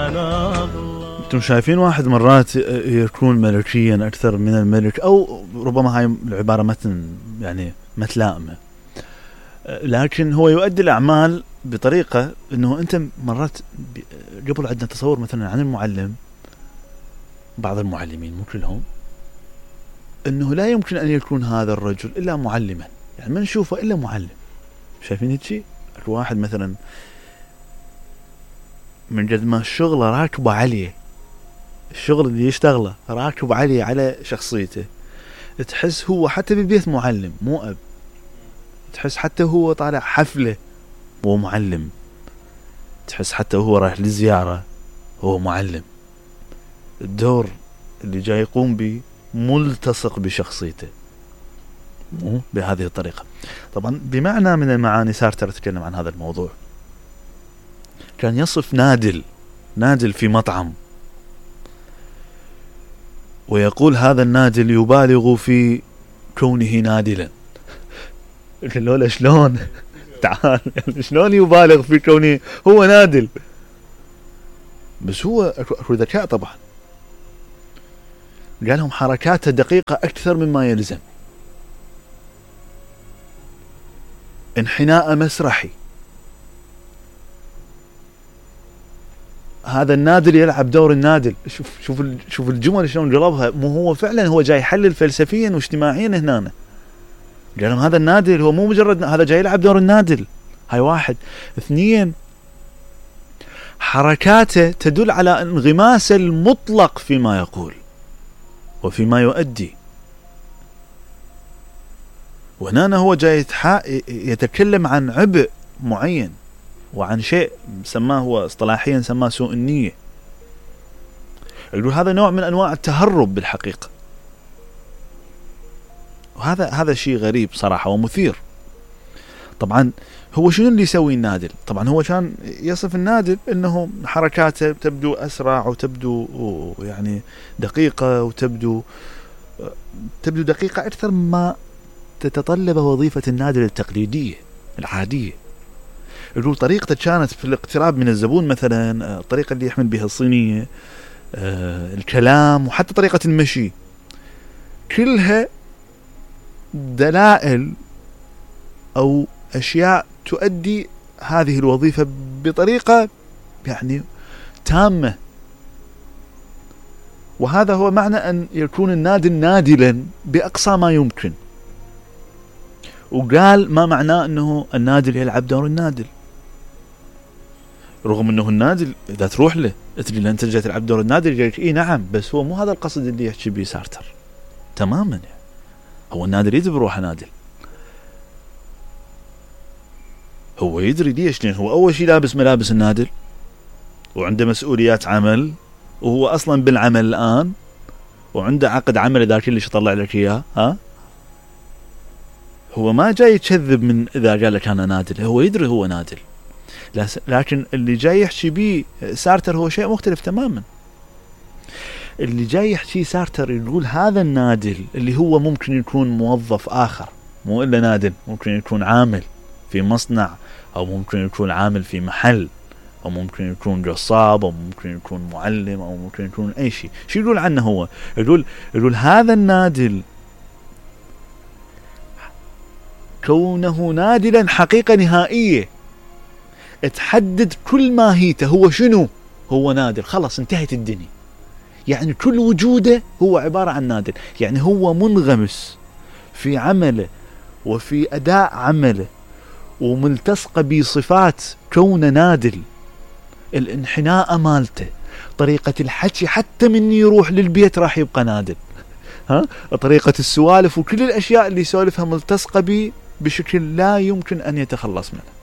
انتم شايفين واحد مرات يكون ملكيا اكثر من الملك، او ربما هاي العبارة يعني متلائمة، لكن هو يؤدي الاعمال بطريقة انه انت مرات قبل عندنا تصور مثلا عن المعلم، بعض المعلمين مو كلهم، انه لا يمكن ان يكون هذا الرجل الا معلما، يعني ما نشوفه الا معلم. شايفين هالشيء؟ الواحد مثلا من قد ما الشغل راكبه عليه، الشغل اللي يشتغله راكب عليه على شخصيته، تحس هو حتى بالبيت معلم مو اب، تحس حتى هو طالع حفلة هو معلم، تحس حتى هو رايح لزيارة هو معلم. الدور اللي جاي يقوم به ملتصق بشخصيته، مو بهذه الطريقة. طبعا بمعنى من المعاني سارتر تكلم عن هذا الموضوع، كان يصف نادل في مطعم ويقول هذا النادل يبالغ في كونه نادلا. قال شلون؟ تعال شلون يبالغ في كونه هو نادل؟ بس هو اكو ذكاء طبعا. قال لهم حركاته دقيقة أكثر مما يلزم، انحناء مسرحي. هذا النادل يلعب دور النادل. شوف الجمل شلون قلبها. مو هو فعلا هو جاي يحلل فلسفيا واجتماعيا هنا. قال لهم هذا النادل هو مو مجرد هذا جاي يلعب دور النادل. هاي واحد. اثنين، حركاته تدل على انغماس المطلق فيما يقول وفيما يؤدي. وهنا هو جاي يتكلم عن عبء معين وعن شيء سماه هو اصطلاحيا سماه سوء النية. يقول هذا نوع من انواع التهرب بالحقيقة، وهذا شيء غريب صراحة ومثير. طبعا هو شنو اللي يسوي النادل؟ طبعا هو كان يصف النادل انه حركاته تبدو اسرع وتبدو يعني دقيقة وتبدو دقيقة اكثر ما تتطلب وظيفة النادل التقليدية العادية. يقول طريقته كانت في الاقتراب من الزبون مثلا، الطريقة اللي يحمل بها الصينية، الكلام، وحتى طريقة المشي، كلها دلائل او اشياء تؤدي هذه الوظيفة بطريقة يعني تامة. وهذا هو معنى ان يكون النادل نادلا باقصى ما يمكن. وقال ما معناه انه النادل يلعب دور النادل، رغم انه النادل اذا تروح له تقول له انت جاي تلعب دور النادل يقول لك اي نعم، بس هو مو هذا القصد اللي يحكي به سارتر تماما. يعني هو النادل يدري بروحه نادل، هو يدري ليش، لأن هو اول شيء لابس ملابس النادل وعنده مسؤوليات عمل، وهو اصلا بالعمل الان وعنده عقد عمل ذاك اللي يطلع لك اياه. هو ما جاي يكذب من اذا قال لك انا نادل، هو يدري هو نادل، لكن اللي جاي يحكي بيه سارتر هو شيء مختلف تماما. اللي جاي يحكي سارتر يقول هذا النادل اللي هو ممكن يكون موظف آخر، مو إلا نادل، ممكن يكون عامل في مصنع، أو ممكن يكون عامل في محل، أو ممكن يكون قصاب، أو ممكن يكون معلم، أو ممكن يكون أي شيء. شو يقول عنه هو؟ يقول هذا النادل كونه نادلا حقيقة نهائية تحدد كل ماهيته. هو شنو؟ هو نادل، خلاص انتهت الدنيا. يعني كل وجوده هو عبارة عن نادل، يعني هو منغمس في عمله وفي أداء عمله وملتصق بصفات كون نادل. الانحناء مالته، طريقة الحكي، حتى من يروح للبيت راح يبقى نادل. طريقة السوالف وكل الأشياء اللي يسولفها ملتصقة به بشكل لا يمكن أن يتخلص منه.